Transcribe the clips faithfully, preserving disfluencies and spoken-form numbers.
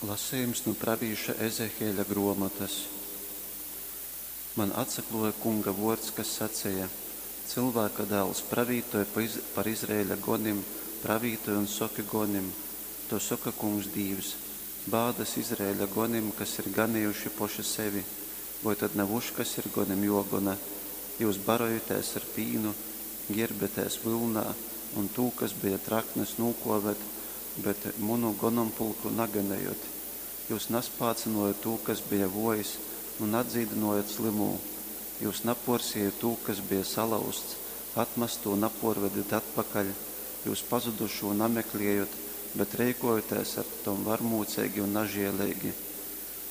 Lasejums nu pravīša Ezehieļa gruomotas. Man atsakluoja Kunga vuords, kas saceja: Cylvāka dāls, pravītoj par Izraeļa gonim, pravītoj un soki gonim: Tū soka Kungs Dīvs: Bādas Izraeļa gonim, kas ir ganejuši poši sevi! Voi tod na vuškas ir gonim juogona? Jyus barojatēs ar pīnu, gierbjatēs vylnā un tū, kas beja traknys, nūkuovet, bet munu gonompulku naganejot. Jyus naspācynuojot tū, kas beja vuojs, un nadzīdynuojot slymū. Jyus napuorsiejot tū, kas beja salauzts, atmastū napuorvedet atpakaļ, jyus pazudušū namekliejot, bet reikuojotēs ar tom varmūceigi un nažieleigi.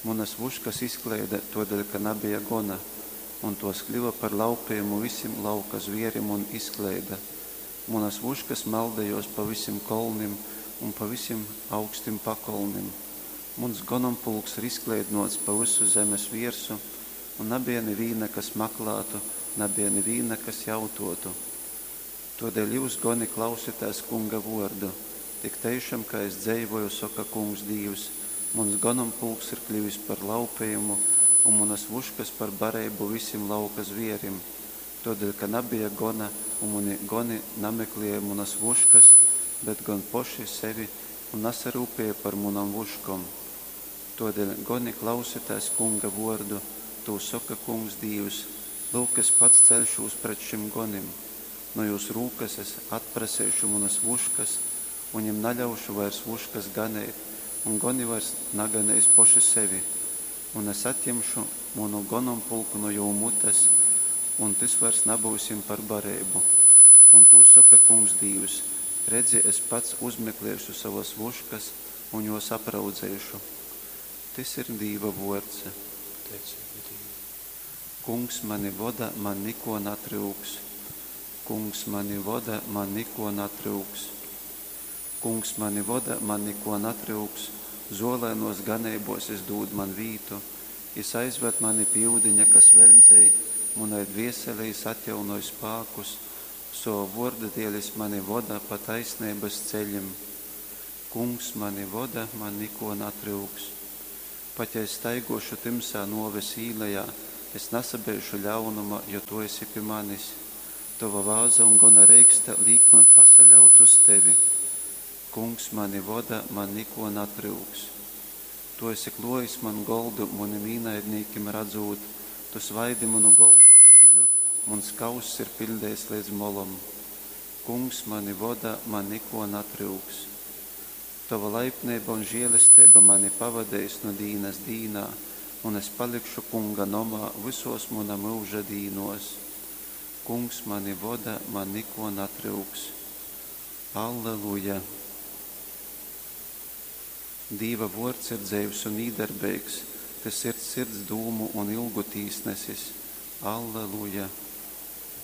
Munas vuškas izkleida, tuodeļ ka nabeja gona, un tuos kļuva par laupejumu visim lauka zvierim un izkleida. Munas vuškas maldejuos pa visim kolnim un pa visim augstim pakolnim. Muns gonompulks ir izkleidynuots pa vysu zemes viersu, un nabeja nivīna, kas maklātu, nabeja nivīna, kas jautuotu. Tuodeļ jyus, goni, klausitēs Kunga vuordu: Tik teišam, kai es dzeivoju, soka Kungs Dīvs, muns gonompulks ir kļuvis par laupejumu un munas vuškas par bareibu visim lauka zvierim, tuodeļ ka nabeja gona, un muni goni nameklieja munas vuškas, bet gon poši sevi un nasaryupieja par munom vuškom. Tuodeļ, goni, klausitēs Kunga vuordu: Tū soka Kungs Dīvs: Lyuk, es pats ceļšūs pret šim gonim, nu jūs rūkas es atpraseišu munas vuškas un jim naļaušu vairs vuškas ganeit, un goni vairs naganeis poši sevi. Un es atjimšu munu gonompulku nu jū mutes, un tys vairs nabyus jim par bareibu. Un tū soka Kungs Dīvs: Redzi, es pats uzmekliešu sovas vuškas un juos apraudzeišu. Tys ir Dīva vuords. Pateiceiba Dīvam. Kungs mani voda, man nikuo natryuks. Kungs mani voda, man nikuo natryuks. Kungs mani voda, man nikuo natryuks, zuolainuos ganeibuos jis dūd man vītu, jis aizvad mani pi iudiņa, kas veļdzej, munai dvieselei jis atjaunoj spākus, sova vuorda dieļ jis mani voda pa taisneibys ceļim. Kungs mani voda, man nikuo natryuks. Pat ja es staiguošu tymsā nuoves īlejā, es nasabeišu ļaunuma, jo tu esi pi manis. Tova vāza un gona reikste līk man pasaļaut uz tevi. Kungs mani voda, man nikuo natryuks. Tu esi kluojis man goldu munim īnaidnīkim radzūt, tu svaidi munu golvu ar eļļu, muns kauss ir piļdeits leidz molom. Kungs mani voda, man nikuo natryuks. Tova laipneiba un žielesteiba mani pavadeis nu dīnas dīnā, un es palikšu Kunga nomā vysuos muna myuža dīnuos. Kungs mani voda, man nikuo natryuks. Alleluja! Dīva vuords ir dzeivs un īdarbeigs, tys ir sirds dūmu un ilgu tīsnesis. Alleluja!